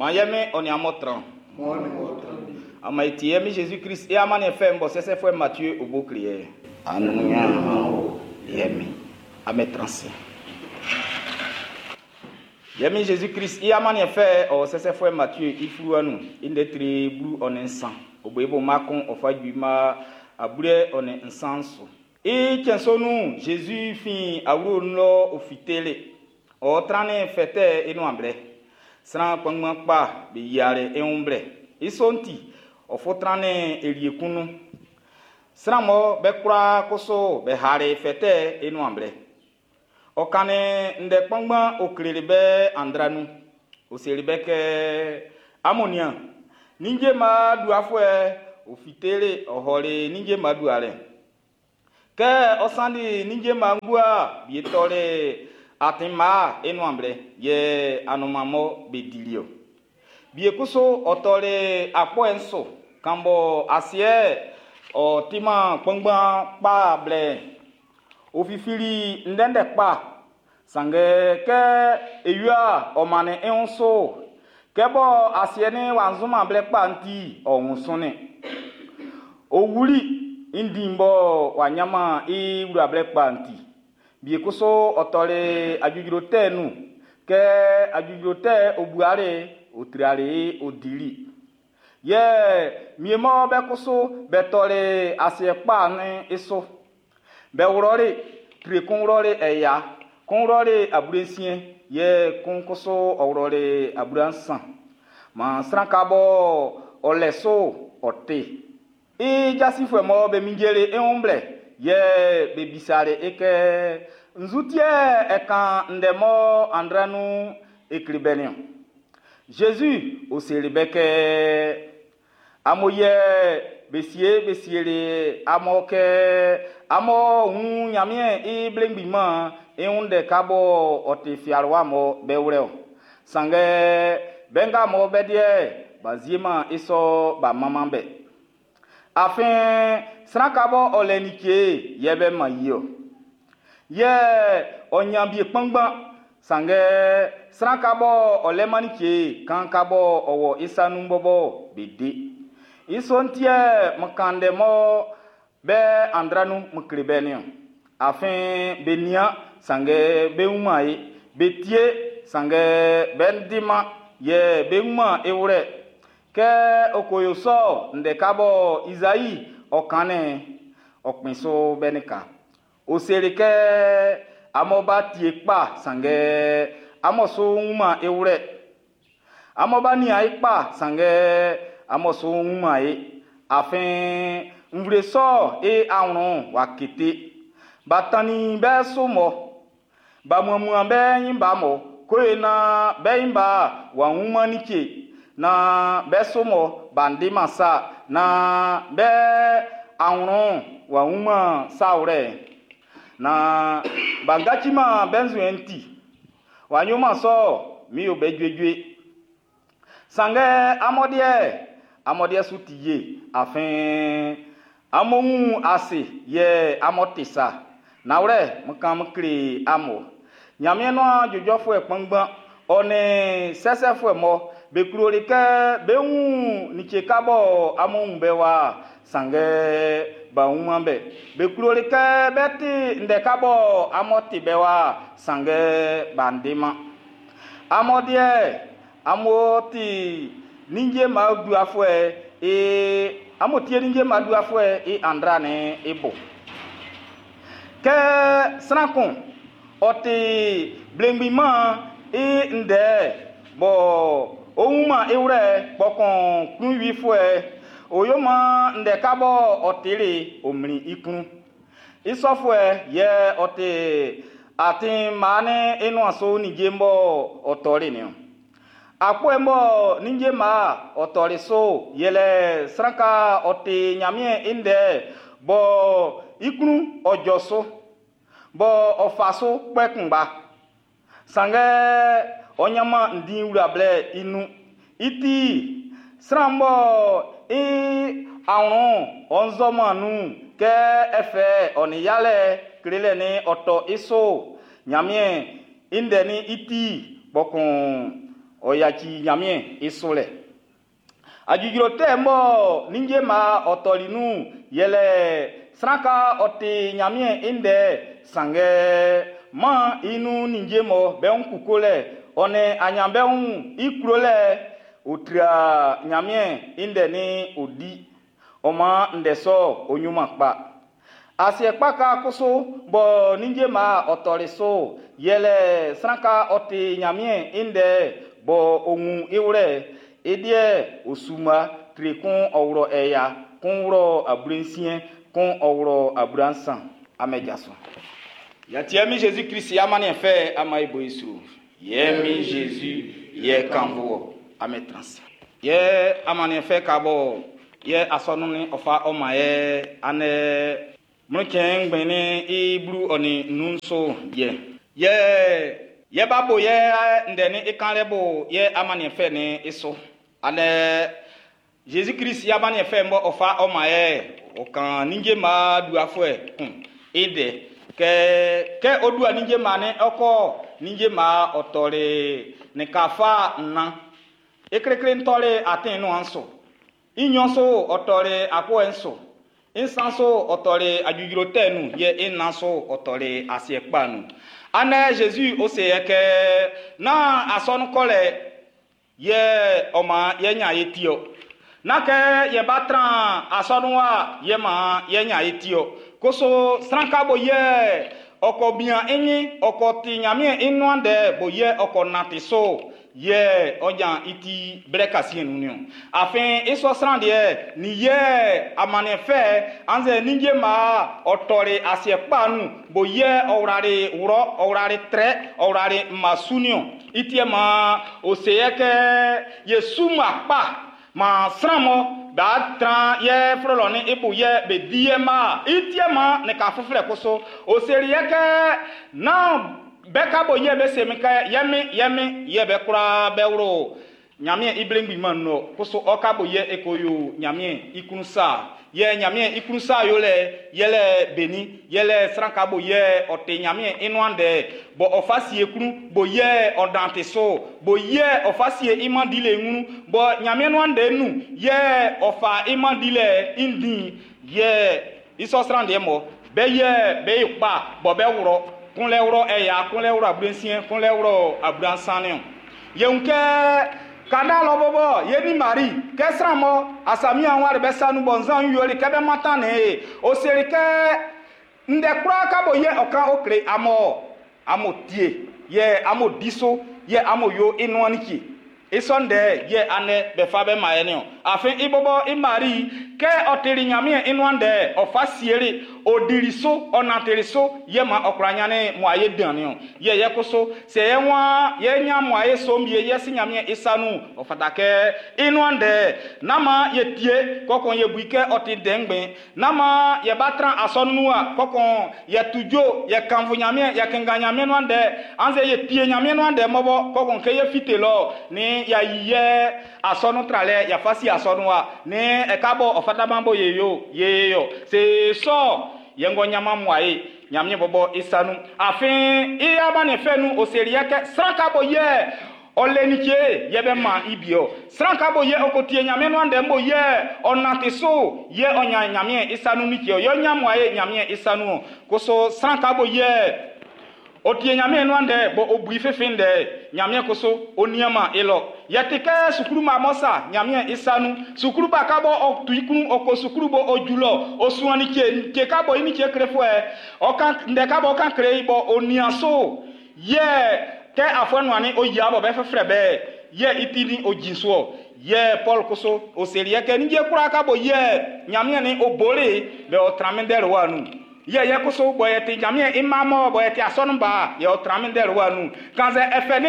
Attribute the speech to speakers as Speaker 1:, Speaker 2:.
Speaker 1: Man ye Min ɔ nin amun tran.
Speaker 2: Ɔ nin wɔ tran wie.
Speaker 1: Ama e tie Min Jésus Christ i amanniɛn fɛ'n bɔ sɛsɛfuɛ Matthieu o bo kle ye. Anunya o ye Min. Ame tran se. Ye Min Jésus Christ i amanniɛn fɛ ɔ sɛsɛfuɛ Matthieu i fluwa nun i ndɛ tre 13 o bo i bo ma kun ɔ fa ju ma abue ɔ nin nsan su. I cɛn sɔ nun'n, Jésus fin awlo'n nun lɔ ɔ fiteli. Ɔ trannin fɛtɛ i nuan blɛ. Sran kpanngban kpa be yiali i wun blɛ. I sɔ'n ti, ɔ fo trannin elie kun nun. Sran mɔ be kwlaa kusu be hali fɛtɛ i nuan blɛ. Ɔ kannin ndɛ kpanngban ɔ kleli be andra nun. Ɔ seli be kɛ, amun nian, ninnge mma duafuɛ ɔ fiteli ɔ hɔli ninnge mma dualɛ. Kɛ ɔ sanni ninnge mma ngua wie tɔli atin mma i nuan blɛ, yɛ anunman mɔ be dili ɔ. Wie kusu ɔ tɔli akpɔɛ'n su, kan bɔ asiɛ ɔ timan kpanngban kpa blɛ. Ɔ fifili ndɛndɛ kpa, sanngɛ kɛ ewia ɔ mannin i wun so, kɛ bɔ asiɛ ni w'a nzuman blɛ kpa'n ti, ɔ wun sunnin. Ɔ wuli i ndin bɔ w'a nyanman i wla blɛ kpa'n ti. Wie kusu ɔ tɔli ajujro tɛ'n nun, kɛ ajujro tɛ ɔ buali, ɔ triali, ɔ dili. Yɛ mie mɔ be kusu be tɔli asiɛ kpa'n i su. Be wlɔli, tre kun wlɔli ɛya, kun wlɔli abulensiɛn, yɛ kun kusu ɔ wlɔli abulansan. Man sran ka bɔ ɔ lɛ so ɔ te. I jasifuɛ mɔ be minjeli i wun blɛ, yɛ be bisali i kɛ, nzu ti yɛ ɛ kan ndɛ mɔ andra nun e kle bɛ niɔn? Jésus o seli be kɛ, amun yɛ be sie be sieli amun kɛ amun wun Ɲanmiɛn i blengbinman i wun ndɛ ka bɔ ɔ ti fialiwa mɔ be wlɛ o. Sanngɛ be nga mɔ be deɛ b'a zieman i sɔ b'a manman be. Afin sran ka bɔ ɔ lɛ like yɛ be man yi o. Yɛ ɔ nyan bie kpanngban, sanngɛ sran ka bɔ ɔ lɛ man like kan ka bɔ ɔ wɔ i sa nun bɔbɔ be de. I sɔ'n ti yɛ m kan ndɛ mɔ be andra nun m kle be niɔn. Afin be nian, sanngɛ be wunman ye. Be tie, sanngɛ be ndiman, yɛ be wunman e wlɛ. Kɛ ɔ ko yo sɔ, ndɛ ka bɔ Isaïe ɔ kannin, ɔ kpɛn so be nin ka. Ɔ seli kɛ amun ba tie kpa, sanngɛ amun so wunman e wlɛ. Amun ba nian e kpa, sanngɛ amun so wunman e. Afin nvle sɔ e awlɛn wa kete. Ba tannin be so mɔ, ba muamuan be nyin ba mɔ, koe na be nyin ba wa wunman like, na be so mɔ ba ndiman sa, na be awlɛn wa wunman sa wlɛ. Na ba ngaciman be nzuɛn ti. Wa yoman sɔ, mi yo be juejue. Sanngɛ amɔdeɛ su ti ye, afin amun wun ase yɛ amun te sa. Nawlɛ, m kan m kle amun. Ɲanmiɛn nuan jɔjɔfuɛ kpanngban, ɔ nin sɛsɛfuɛ mɔ be kloli kɛ be wun like ka bɔ amun wun be wa, sanngɛ b'a wunman be. Be kloli kɛ be ti ndɛ ka bɔ amun ti be wa, sanngɛ b'a ndiman. Amɔdeɛ, amun ti ninnge ma duafuɛ e amun tie ninnge ma duafuɛ i andra ne i bo. Kɛ sran kun ɔ ti blengbinman i ndɛ bɔ o wunman i wlɛ kpɔkun klunwifuɛ o yo man ndɛ ka bɔ ɔ tili o mlin i klun. I sɔfuɛ yɛ ɔ ti atin maa ne i nuan so ninnge bɔ ɔ tɔli niɔn. Akpɔɛ mɔ ninnge maa ɔ tɔli so yɛlɛ sran ka ɔ ti Ɲanmiɛn i ndɛ bɔ i klun ɔ jɔ so, bɔ ɔ fa so kpɛ kunngba. Sanngɛ ɔ ɲanman ndin wla blɛ i nun. I ti sran bɔ i awlɛn ɔ nzɔman nun kɛ ɛfɛ ɔ nin yalɛ klelɛ ni ɔ tɔ i so Ɲanmiɛn i ndɛ ni i ti kpɔkun Ɔ yaci Ɲanmiɛn i sulɛ. Ajujulo tɛ mɔ ninnge ma ɔ tɔli nun yɛlɛ sran ka ɔ ti Ɲanmiɛn i ndɛ, sanngɛ man i nun ninnge mɔ be wun kukolɛ ɔ nin aɲanbeun'n i klolɛ ɔ tra Ɲanmiɛn i ndɛ ni ɔ di. Ɔ man ndɛ sɔ ɔ nyuman kpa. Asiɛ kpa ka kusu bɔ ninnge ma ɔ tɔli so yɛlɛ sran ka ɔ ti Ɲanmiɛn i ndɛ bɔ ɔ wun i wlɛ i deɛ ɔ suma tre kun ɔ wlɔ ɛya kun wlɔ 60 kun ɔ wlɔ 30 amɛjaso. Yatiɛ mi Jésus Christ amaniɛ fɛ ama ibo isu. Yɛ mi Jésus yɛ kanvo ame trans. Yɛ amaniɛ fɛ ka bɔ yɛ asɔnu ni ɔfa ɔma yɛ anɛ mlɔtsɛn ngbɛni i blu ɔni nunso yɛ. Yɛ yɛ ba bo yɛ ndɛni ikan lɛ bo yɛ amaniɛ fɛ ni iso. Anɛ Jésus Christ yɛ amaniɛ fɛ mbɔ ɔfa ɔma yɛ ɔkan ninnge ma duafuɛ kun ide kɛ kɛ odua ninnge ma ne ɔkɔ ninnge ma ɔtɔle ne kafa nna eklekle ntɔle atin no anso inyɔ so ɔtɔle akɔ nso nsan so ɔtɔle adzudzro tɛ nu yɛ ena so ɔtɔle asiɛ kpa nu anɛ Jésus ose yɛ kɛ na asɔnukɔlɛ yɛ ɔma yɛ nya ye tiɔ na kɛ yɛ ba tran asɔnua yɛ ma yɛ nya ye tiɔ koso sranka bo yɛ ɔkɔ bia enyi ɔkɔ ti Ɲanmiɛn i nuan dɛ bo yɛ ɔkɔ nati so yɛ ɔdza iti blɛ kasi nu ni o afin isɔ sran deɛ ni yɛ amanɛ fɛ anzɛ ninnge ma ɔtɔle asiɛ kpa nu bo yɛ ɔwlare wlɔ ɔwlare trɛ ɔwlare masu ni o itiɛ ma ose yɛ kɛ yesu ma kpa ma sran mɔ ba tran yɛ flɔlɔ ni ibu yɛ be di yɛ ma itiɛ ma ne ka fuflɛ koso oseri yɛ kɛ na bɛ ka bo yɛ bɛ semi kɛ yɛmi yɛmi yɛ bɛ kura bɛ wuro Ɲanmiɛn i blengbin man no koso ɔka bo yɛ eko yo Ɲanmiɛn i kun sa yɛ Ɲanmiɛn i kun sa yo lɛ yɛlɛ beni yɛlɛ sran ka bo yɛ ɔte Ɲanmiɛn i nuan dɛ bɔ ɔfa sie kun bo yɛ ɔdan so bo yɛ ɔfa sie i man di le ŋunu bɔ Ɲanmiɛn nuan dɛ nu yɛ ɔfa i man di lɛ i ndin yɛ isɔ sran deɛ mɔ bɛ yɛ bɛ yi kpa bɔ bɛ wurɔ kun lɛ wurɔ ɛya kun lɛ wurɔ abulensiɛ kun lɛ wurɔ abulansan o yeŋ kɛ kada lɔ bɔbɔ ye ni mari kɛ sran mɔ asami àwọn bɛ sanu bɔ nzan yoli kɛ bɛ matan ne o seri kɛ ndɛ kura ka bo yɛ ɔkan o kle amɔ amo tie yɛ amo diso yɛ amo yo inuani ki isɔ ndɛ yɛ anɛ bɛ fa bɛ ma yɛ ni o afin ibɔbɔ i mari kɛ ɔtiri Ɲanmiɛn i nuan dɛ ɔfa sieli odiri so ɔnatiri so yɛ ma ɔkura nyane mo aye dan ni o yɛ yɛ koso sɛ yɛ wa yɛ nya mo aye so mie yɛ si Ɲanmiɛn i sanu ɔfata kɛ i nuan dɛ nama yɛ tie kɔkɔn yɛ bui kɛ ɔti dɛngbɛn nama yɛ ba tran asɔnua kɔkɔn yɛ tudzo yɛ kanfo Ɲanmiɛn yɛ kenga Ɲanmiɛn nuan dɛ anze yɛ tie Ɲanmiɛn nuan dɛ mɔbɔ kɔkɔn kɛ yɛ fite lɔ ni ya yi yɛ asɔnu tra lɛ yafa si asɔnua ni ɛka bɔ ɔfata bo ye yo ye yo se sɔ yɛngɔ nyama mu aye Ɲanmiɛn bɔbɔ isanu afin i aba ne fɛ nu oseri yɛ kɛ sran ka bo yɛ ɔlɛnitse yɛ bɛ ma ibiɔ sran ka bo yɛ ɔkotie Ɲanmiɛn nuan dɛ bo yɛ ɔnate so yɛ ɔnya Ɲanmiɛn isanu nitse yɛ ɔnya mu aye Ɲanmiɛn isanu koso sran ka bo yɛ otie Ɲanmiɛn nuan dɛ bo obui fefe dɛ Ɲanmiɛn koso oniama elɔ yɛte kɛ sukulu ma mɔ sa Ɲanmiɛn isanu sukulu ba ka bɔ ɔtu ikunu ɔkɔ sukulu bo ojulɔ osuani tse tse ka bɔ ini tse kre fɔɛ ɔkan ndɛ ka bɔ ɔkan kre bɔ onia so yɛ kɛ afɔnuani oyia bɔ bɛ fɛfrɛ bɛ yɛ itini ojinsoɔ yɛ Paul koso oseri yɛ kɛ nidze kura ka bɔ yɛ Ɲanmiɛn ni obole bɛ ɔtrami dɛ wa nu yɛ yɛ koso bɔ yɛ ti Ɲanmiɛn ima mɔ bɔ yɛ ti asɔnu ba yɛ ɔtrami dɛ wa nu kanzɛ ɛfɛ ni.